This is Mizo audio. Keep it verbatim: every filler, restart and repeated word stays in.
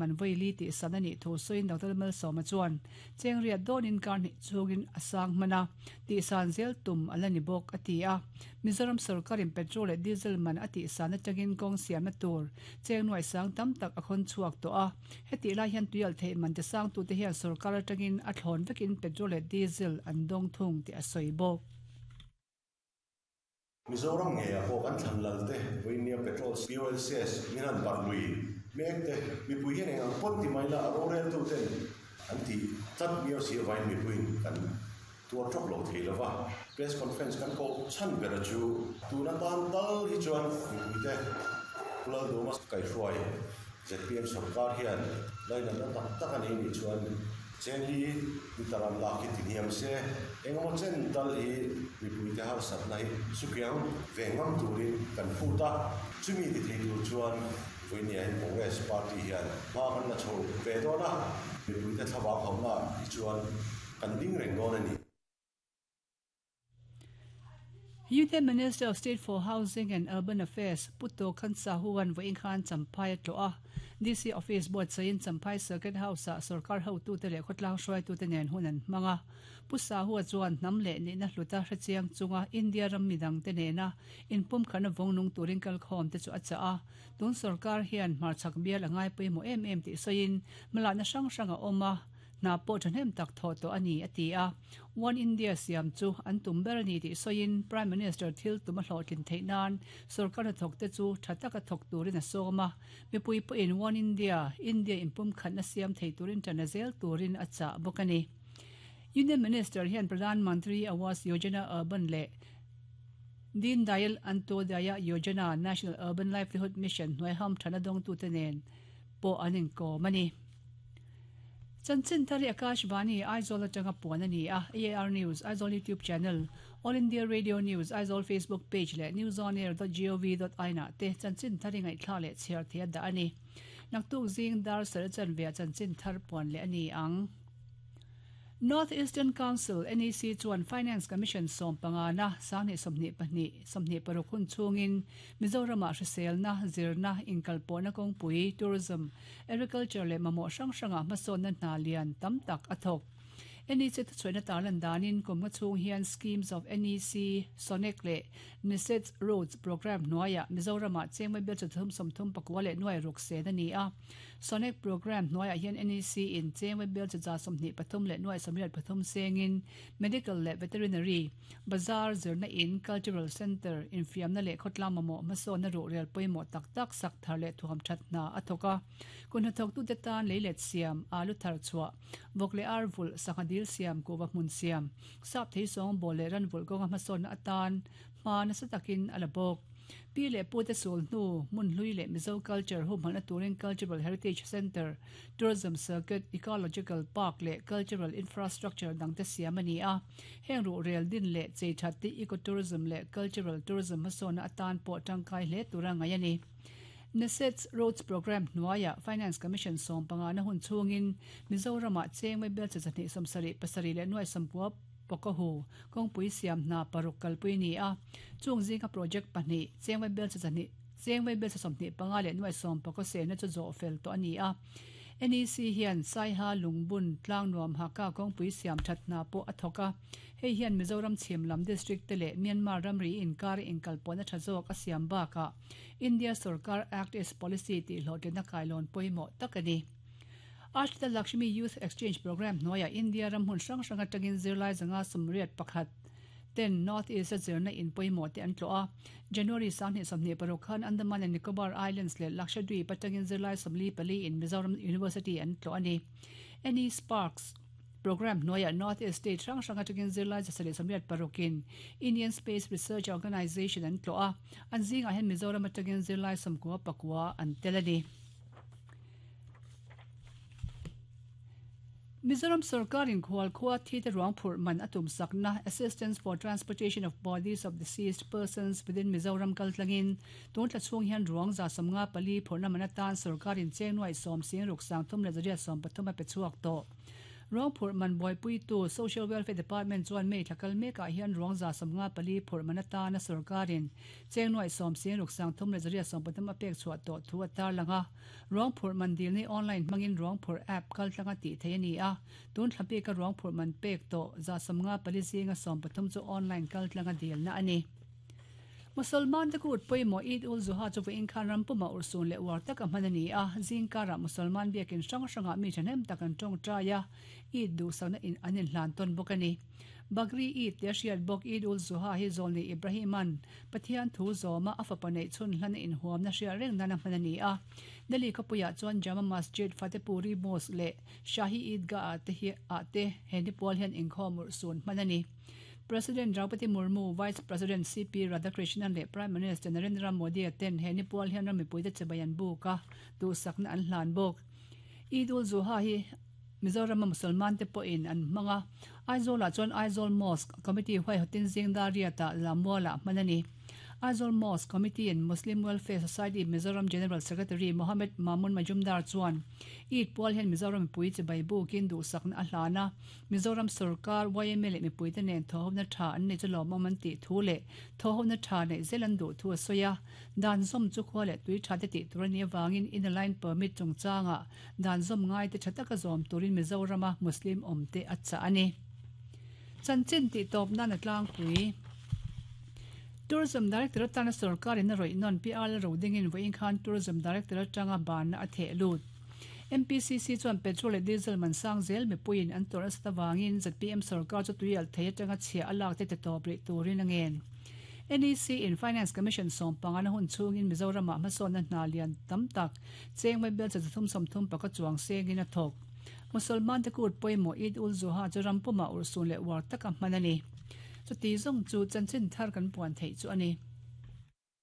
man voi li ti san ani thu soin Doctor Malsawma chuan cheng riat donin kar ni chungin asang mana ti san zel tum alani bok atia Mizoram sarkarin petrol leh diesel man ati san atangin kawng siam na tur cheng nuai sang tam tak a khawn chhuak to a heti lai hian tuial thei man te sang tu te hian sarkar atangin a thlawn vekin petrol leh diesel an dawng thung ti a sawi bawk. Mizoram nge a pawh kan thlan lal te vawinia petrol P O L C S min han barh lui mek te mipui hian eng ang pawn ti mai la a rorel tu ten an ti tlat miau si avain mipuiin kan tuar tawk lo thei lova press conference kan koh chhan ber a chu tuna tan tal hi chuan mipui te Pulal Duma kaihruai Z P M sarkar hian lainatna tak tak a nei nih chuan cheng hi liter an lak hi ti hniam se engemaw chen tal hi mipui te harsatna hi sukiang ve ngam turin kan phut a chumi ti thei tur chuan vawinia hian Congress party hian hma kan la chho ve dawn a mipui te thlavang hauhna hi chuan kan ding reng dawn a ni. Union Minister of State for Housing and Urban Affairs Puto Khan Sahuan vawiin khan Champhai a tlawh a D C Office board sain Champhai Circuit House ah sarkar hotu te leh khawtlang hruaitu te nen hun an hmang a Pu Sahua chuan hnam leh nihna hluta hrechiang chunga India ram midang te nena inpum khana vawngnung turin kalkhawm te chu a chah a tun sarkar hian hmarchhak bial a ngai pawimawh em em tih sawiin hmalakna hrang hrang a awm a na pawh thahnem tak thaw tawh a ni a ti a One India siam chu an tum ber a ni tih sawiin Prime Minister thil tum a hlawhtlin theih nan sarkar hnathawk te chu tha taka thawk turin a sawm a mipui pawhin One India India inpum khatna siam thei turin tana zel turin a chah bawk a ni. Union Minister hian Pradhan Mantri Awas Yojana Urban leh Deen Dayal Antyodaya Yojana National Urban Livelihood Mission hnuai ham thana dawng tu te nen pawh an inkawm a ni. Chanchin thari Akashvani Aizawl atanga puan a ni a A R News Aizawl YouTube channel All India Radio News Aizawl Facebook page leh newsonair dot gov dot in ah te chanchin thari ngaihthla leh chhiar thei a dah a ni. Naktuk zing dar sar chan ve a chanchin thar puan leh a ni ang. North Eastern Council N E C chuan Finance Commission sawm panga na sanghnih sawmhnih pahnih sawmhnih paruk hun chungin Mizoram ah hriselna zirna inkalpawhna kawngpui tourism agriculture leh mamawh hrang hranga hmasawnna hna lian tam tak a thawk. N E C thuchhuahna tarlan danin kum nga chung hian schemes of N E C SONEC leh NESET Roads program hnuaiah Mizoram ah chengmai bel chathum sawmthum pakua leh nuai ruk sen a ni a SONEC program hnuaiah hian N E C in chengmai bel chacha sawmhnih pathum leh nuai sawmriat pathum sengin medical leh veterinary bazar zirna in cultural center infiamna leh khawtlang mamawh hmasawnna ruh rel pawimawh tak tak sak thar leh thuam that hna a thawk a kun hnathawk tu te tan leilet siam alu thar chhuah vawk leh ar vul sangha dil siam kuwa hmun siam sap thei sawng ball leh ran vul kawnga hmasawnna atan hma nasa takin a la bawk. Pi leh pu te sul hnu mun hlui leh Mizo culture humhalna turin Cultural Heritage Center Tourism Circuit Ecological Park leh Cultural Infrastructure dang te siam a ni a heng ruh rel din leh chei that te ecotourism leh cultural tourism hmasawnna atan pawh tangkai hle tura ngai a ni. NESET Roads Program hnuaiah Finance Commission sawm panga na hun chungin Mizoram ah chengmai bel chachahnih sawmsarih pasarih leh nuai sawmkua pawkahu kawngpui siam hna paruk kalpui ni a chung zinga project pahnih chengmai bel chachahnih chengmai bel chasawmhnih panga leh nuai sawm pakaw sena chu zawh fel tawh a ni a N E C hian Saiha Lungbun tlang nuam haka kawngpui siam that hna pawh a thawk a hei hian Mizoram chhim lam district te leh Myanmar ramri inkar inkalpawhna tha zawk a siam bakah India Sarkar Act East Policy tih hlawhtlinna kailawn pawimawh tak a ni. Ashrita Lakshmi Youth Exchange Program hnuaiah India ram hmun hrang hrang atangin zirlai zanga sawmriat pakhat ten North East a zirna in pawimawh te an tlawh a January sanghnih sawmhnih paruk khan Andaman and Nicobar Islands leh Lakshadweep atangin zirlai sawmli pali in Mizoram University an tlawh a ni. N E Sparks Program hnuaiah North East State hrang hrang atangin zirlai zasarih sawmriat parukin Indian Space Research Organisation an tlawh a an zingah hian Mizoram atangin zirlai sawmkua pakua an tel a ni. Mizoram sarkarin khual khua thi te ruang phurh man a tum sakna Assistance for Transportation of Bodies of Deceased Persons within Mizoram kaltlangin tun thla chhung hian ruang za sawmnga pali phurhna man atan sarkarin cheng nuai sawm sing ruk sang thum leh zariat sawm pathum a pe chhuak tawh. Ruang phurh man buaipuitu Social Welfare Department chuan May thla kal mekah hian ruang za sawmnga pali phurh man atana sorkarin cheng nuai sawm sing ruk sang thum leh zariat sawm pathum a pek chhuah tawh thu a tarlang a. Ruang phurh man dil ni online hmangin ruang phurh app kal tlanga tih theih a ni a. Tun thla peka ruang phurh man pek tawh za sawmnga pali zinga sawm pathum chu online kal tlanga dilna a ni. Musalman te kut pawimawh Eid ul Zuha chu vawiin khan ram puma urhsun leh uar tak a hman a ni a. Zingkarah Musalman biakin hrang hrangah mi thahnem tak an tawngtai a, Eid duhsakna in an inhlan tawn bawk a ni. Bakri Eid tia hriat bawk Eid ul Zuha hi Zawlni Ibrahima'n Pathian thu zawma a fapa neih chhun hlan a inhuamna hriat reng nan a hman a ni a. Delhi khawpuiah chuan Jama Masjid, Fatehpuri Mosque leh Shahi Eidgah ah te hi ah te he ni pual hian inkhawm urhsun hman a ni. President Draupadi Murmu, Vice President C P Radhakrishnan leh Prime Minister Narendra Modi ten he ni pual hian ram mipuite chibai an buk a, duhsakna an hlan bawk. Eid ul Zuha hi Mizorama Musalman te pawhin an hmang a, Aizawlah chuan Aizawl Mosque Committee huaihawtin zingdar riatah Lammualah hman a ni. Aizawl Mosque Committee and Muslim Welfare Society Mizoram General Secretary Mohammed Mamun Majumdar chuan Eid pual hian Mizoram mipui chibai bukin duhsakna a hlan a, Mizoram sorkar Y M A leh mipuite nen thawhhawmna tha an nei chu lawmawm an tih thu leh thawhhawmna tha neih zel an duh thu a sawi a. Dan zawm chu khua leh tui tha te tih tur a nih avangin inner line permit chungchangah dan zawm ngai te tha taka zawm turin Mizorama Muslim awm te a chah a ni. Chanchin tih tawp nan a tlangpui. Tourism Director atana sorkarin a rawih nawn P R Ro dingin vawiin khan Tourism Director atanga banna a theh lut. M P C C chuan petrol leh diesel man sang zel mipuiin an tawrh nasa avangin Z P M sorkar chu tui alh thei atanga chhia a lak te ti tawp rih turin a ngen. N E C in Finance Commission sawm panga na hun chhungin Mizoramah hmasawnna hna lian tam tak cheng bel cha thum sawm thum paka chuang sengin a thawk. Musalman te kut pawimawh Eid ul Zuha chu ram puma urhsun leh uar taka hman a ni. Chuti zawng chu chanchin thar kan puan theih chu a ni.